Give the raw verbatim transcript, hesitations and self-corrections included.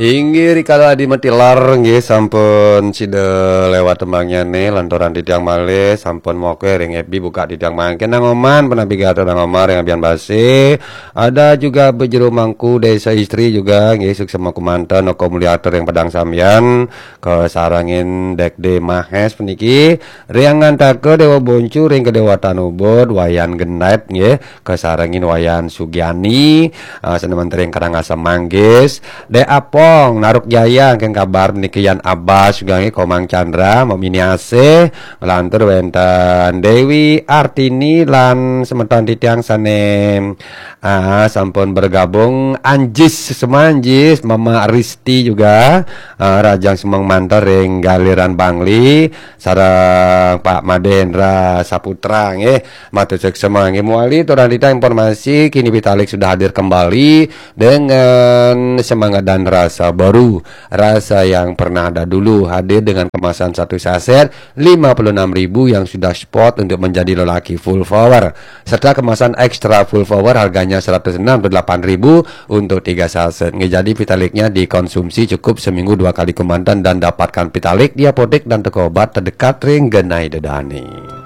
Inggih, rikala adi matilar, nggih, sampun sida lewat tembangnya nih, lantaran titiang malih sampun moke ring F B buka titiang mangkin. Nang Oman, penapi gatra Nang Oman ring Abian Basi. Ada juga Bejero Mangku Desa Istri juga, nggih, suksema kumanten, Oko Mulyata ring Padang Sambian, kasarengin Dek De Mahes puniki, Riang Ngantaka Dewa Boncu ring Kedewatan Ubud, Wayan Gendep, nggih, kasarengin Wayan Sugiani, ah, sane manten ring Karangasem Manggis, Dek Apong, Naruk Jaya, keng kabar niki Yan Abbas juga nggih, Komang Chandra, Mok Mini Asih, nglantur wenten Dewi Artini lan semeton titiang sane, ah, sampun bergabung, Anjis Semanjis, Mama Risti juga, ah, Rajang Semeng manten ring Galiran Bangli, sareng Pak Madendra Saputra nggih. Matur suksema nggih. Mawali aturang titiang informasi, kini Vitalik sudah hadir kembali dengan semangat dan rasa baru. Rasa yang pernah ada dulu, hadir dengan kemasan satu saset lima puluh enam ribu yang sudah spot untuk menjadi lelaki full power, serta kemasan ekstra full power harganya seratus enam puluh delapan ribu untuk tiga saset. Nggih, jadi Vitaliknya dikonsumsi cukup seminggu dua kali kumanten dan dapatkan Vitalik di apotek dan toko obat terdekat ring genah ida dane.